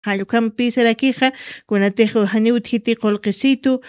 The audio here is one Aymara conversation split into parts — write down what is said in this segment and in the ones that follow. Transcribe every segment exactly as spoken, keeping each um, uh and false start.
Jallukhampi sarakixa, kunatix janiw utjiti qulqisitu,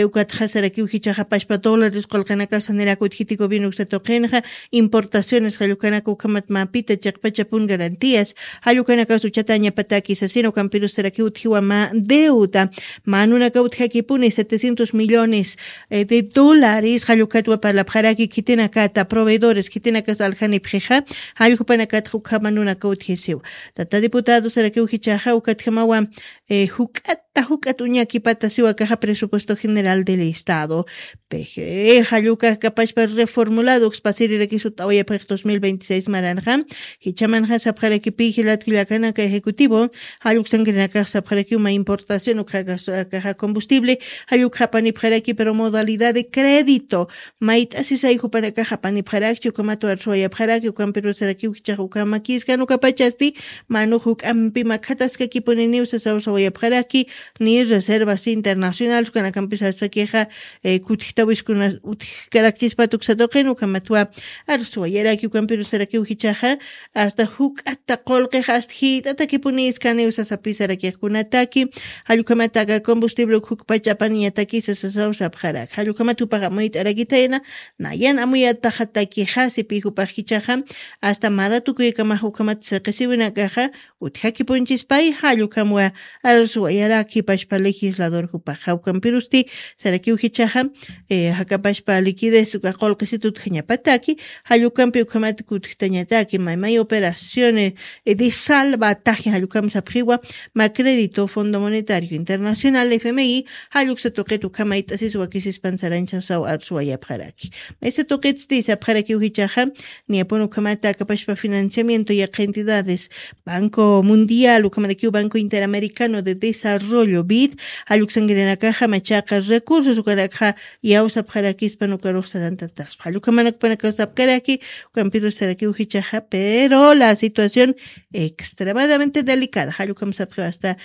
ukatxa sarakiw jichaxa pashpa dólares qulqinakaw sanirak utjiti gobierno uksa tuqinxa, importaciones jallukanaka ukhamat mapita chiqpachapun garantías, jallukanakaw suchatañapataki sasina ukampirus sarakiw utjiwa ma deuda, manunakaw utjakipuni setecientos millones de dólares jallukatwa parlapxaraki khitinakata proveedores khitinakas aljanipxixa, jallukpanakatxa ukhama nunakaw utjisiw. Tata diputado sarakiw jichaxa ukatjamawa juk'ata juk'at uñakipata siwakaxa presupuesto general del estado, peje jallukax kapachpa reformulado ukspasirirakis ut'awayapxix dos mil veintiséis maranxa. Jichamanxa sapxarakipi jilatkullakanaka ejecutivo, jalluksankirinakax sapxarakiw ma importación ukxakaxa combustible, jallukxapanipxaraki pero modalidad de crédito, mayt'asisay jupanakax apanipxarakchi ukhamat warsuwayapxaraki ukampirusarakiw jichax ukhamakiskan ukapachasti, manux juk'ampi makhataskakipuni niw sasawsawayapxaraki, ni reservas internacionales ukanakampis asakixa kutjtawiskuna utjkarakchispat uksatuqin ukhamatwa arsuwayaraki ukampirusarakiw jichaxa, asta juk'ata qulqixa asta jit'atakipuni iskaniw sasapisarakiqkunataki, jallukhamataka combustible uk juk'pach apaniñatakisa sasawsapxarak jallukhamat jupax amuyt'arakitayna, nayan amuyataxatakixasi pi jupax jichaxa, asta maratukuykamax ukhamat siqisiwinakaxa, utjakipunchispay jallukhamwa arsuwayaraki pashpa legislador jupaxa ukampirusti, sarakiw jichaxa jakapashpa liquidez uka qulqisit utjañapataki, jallukampi ukhamat kutjtañataki maymay operaciones de salvataje jallukam sapxiwa, ma crédito fondo monetario internacional fmi, jalluksa tuqit ukhama it'asis wakisispan saranchasaw arsuwayapxaraki. Maysa tuqitsti sapxarakiw jichaxa, niyapun ukhamata akapashpa financiamiento yaqha entidades, banco mundial ukhamarakiw banco interamericano de desarrollo bid, jalluksankirinakaxa machaqa recursos ukanakxa, iyawsapxarakispan ukarux sarantataspa jallukhamanakpanakaw sapkaraki, ukampirusarakiw jichaxa pero la situación extremadamente delicada jallukham sapxiw asta,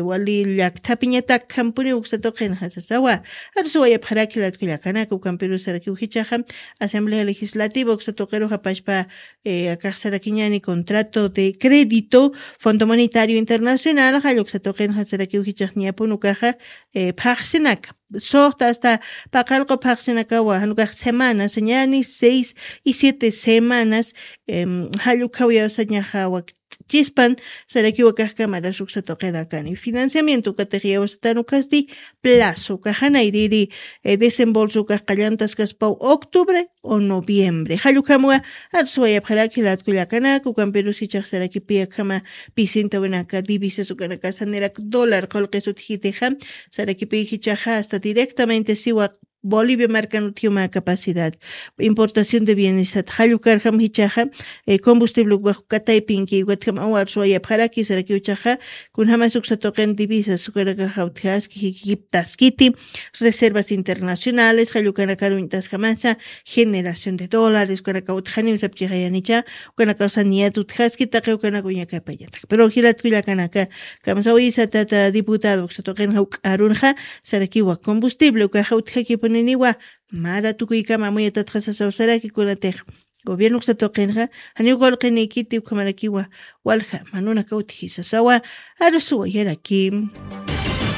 wali llakthapiñatak khampuniw uksa tuqinxa sasawa, arsuwayapxaraki latkullakanaka ukampirusarakiw jichaxa, asamblea legislativa uksa tuqiruxa pashpa akaxsarakiñani contrato de crédito, fondo monetario internacional jalluksa tuqinxa sarakiw jichax niyapun ukaxa, phaxsinaka, suxta asta paqallqu phaxsinakawa janukax semanas ñani seis y siete semanas, jallukhaw yawsañaxa wakt'chispan, sarakiwa kaxkamaras uksa tuqinakani financiamiento ukatix yawsatan ukasti, plazo kaxanayriri desembolso ukax qallantaskaspaw octubre o noviembre jallukhamwa, arsuwayapxaraki latkullakanaka ukampirus jichaxsarakipi akhama, pisintawinaka divisas ukanakasanirak dólar qulqis utjitixa, sarakipi jichaxa asta directamente siwa, bolivia markan utjiw mä capacidad, importación de bienesat jallukarjam jichaxa, combustible ukax kataypinki ukatjam awarsuwayapxaraki sarakiw jichaxa, kunjamas uksa tuqin divisas ukanakaxa utjaski jikiptaskiti, reservas internacionales jallukanakar uñt'asjamasa, generación de dólares ukanaka utjaniw sapchixayanicha, ukanakaw saniyat utjaski taqi ukanak uñakapayata pero jilatkullakanaka, kamsawisatata diputado uksa tuqinxa uk'arunxa, sarakiwa combustible ukaxa utjakipuniniwa, mara tukuykama amuyatatxa sasaw saraki kunatix, gobierno uksa tuqinxa, janiw qulqinikiti ukhamarakiwa, walja manunaka utji sasawa, arsuwayaraki.